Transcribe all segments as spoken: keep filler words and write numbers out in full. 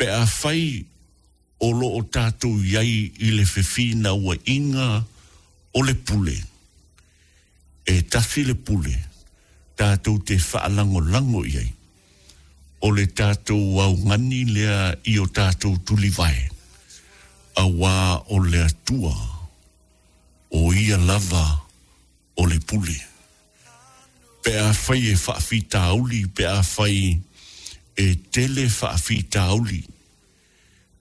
Pe afai o lo o tatou i ai i le fefinauaiga o le pule, e tasi le pule tatou te faalagolago i ai, o le tatou augani lea i o tatou tulivae, auā o le Atua o ia lava o le pule. Pe afai e faafitauli, pe afai e tele faafitauli,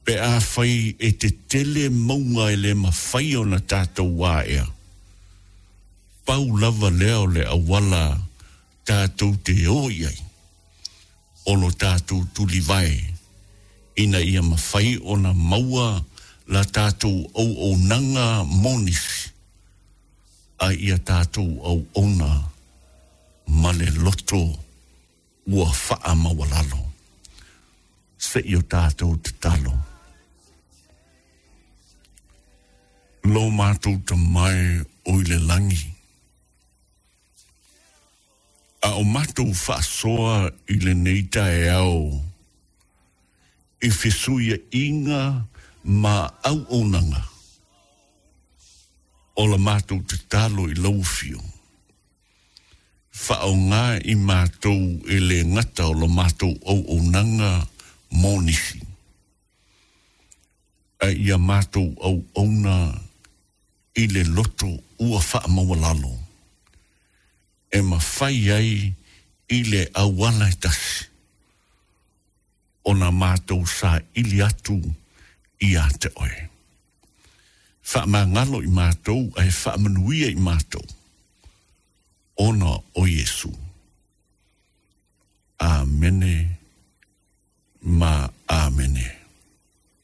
pe afai e tetele mauga e le mafai ona tatou aea, pau lava lea o le auala tatou te o i ai, o lo tatou tulivae, ina ia mafai ona maua la tatou auaunaga mo nisi, a ia tatou auauna ma le loto ua faamaualalo. Se i o tatou tatalo. Lo matou Tama e o i le lagi, a o matou faasoa i lenei taeao i fesuiaiga ma auaunaga, o la matou tatalo i lau afio, faaaoga i matou e le gata o la matou auaunaga mo nisi, a ia matou auauna i le loto ua faamaualalo, e mafai ai i le auala e tasi ona matou saili atu ia te oe. Faamagalo i matou ae faamanuia i matou, ona o Iesu. Amene.